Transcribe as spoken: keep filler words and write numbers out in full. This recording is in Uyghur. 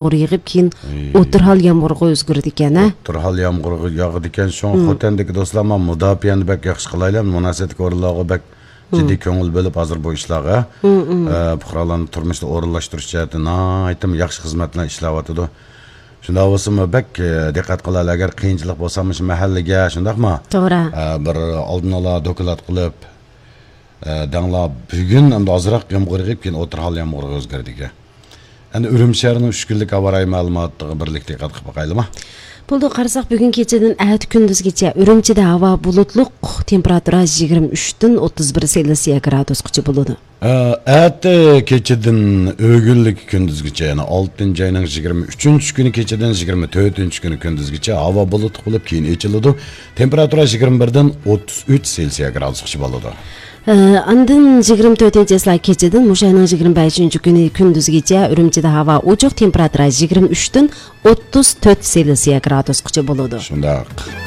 يېغىپ، كېيىن ئوتتۇرا ھال يامغۇرغا ئۆزگىرىدىكەن، ھە؟ ئوتتۇرا ھال يامغۇرغا ياغىدىكەن. شۇڭا خوتەندىكى دوستلار، مانا مۇداپىئەنى بەك ياخشى قىلايلى، مۇناسىۋەتلىك ئورۇنلارغا بەك جىددىي كۆڭۈل بۆلۈپ، ھازىر بۇ ئىشلارغا، ئە، پۇقرالارنى تۇرمۇشتا ئورۇنلاشتۇرۇش جەھەتتە ناھايىتى ياخشى خىزمەتلەر ئىشلەۋاتىدۇ. شۇنداق بولسىمۇ بەك، ئە، دىققەت قىلايلى، ئەگەر قىيىنچىلىق بولسا مۇشۇ مەھەللىگە، شۇنداقمۇ؟ توغرا. ئە، بىر ئالدىن ئالا دوكلات قىلىپ، ئە، دەڭلار بۈگۈن ئەمدى ئازراق يامغۇر يېغىپ، كېيىن ئوتتۇرا ھال يامغۇرغا ئۆزگىرىدىكەن. ئەمدى ئۈرۈمچى شەھىرىنىڭ ئۈچ كۈنلۈك ھاۋا رايى مەلۇماتىغا بىرلىكتە دىققەت قىلىپ باقايلىما؟ بولدى، قارىساق، بۈگۈن كېچىدىن ئەتە كۈندۈزگىچە ئۈرۈمچىدە ھاۋا بۇلۇتلۇق، تېمپېراتۇرا يىگىرمە ئۈچتىن ئوتتۇز بىر سېلسىيە گرادۇسقىچە بولىدۇ. ئە، ئەتە كېچىدىن ئۆگۈنلۈك كۈندۈزگىچە، يەنى ئالتىنچى ئاينىڭ يىگىرمە ئۈچىنچى كۈنى كېچىدىن يىگىرمە تۆتىنچى كۈنى كۈندۈزگىچە ھاۋا بۇلۇتلۇق بولۇپ، كېيىن ئېچىلىدۇ. تېمپېراتۇرا يىگىرمە بىردىن ئوتتۇز ئۈچ سېلسىيە گرادۇسقىچە بولىدۇ. ئە، ئاندىن يىگىرمە تۆتىنچى چىسلا كېچىدىن مۇشۇ ئاينىڭ يىگىرمە بەشىنچى كۈنى كۈندۈزگىچە ئۈرۈمچىدە ھاۋا ئوچۇق، تېمپېراتۇرا يىگىرمە ئۈچتىن ئوتتۇز تۆت سېلسىيە گرادۇسقىچە بولىدۇ. شۇنداق.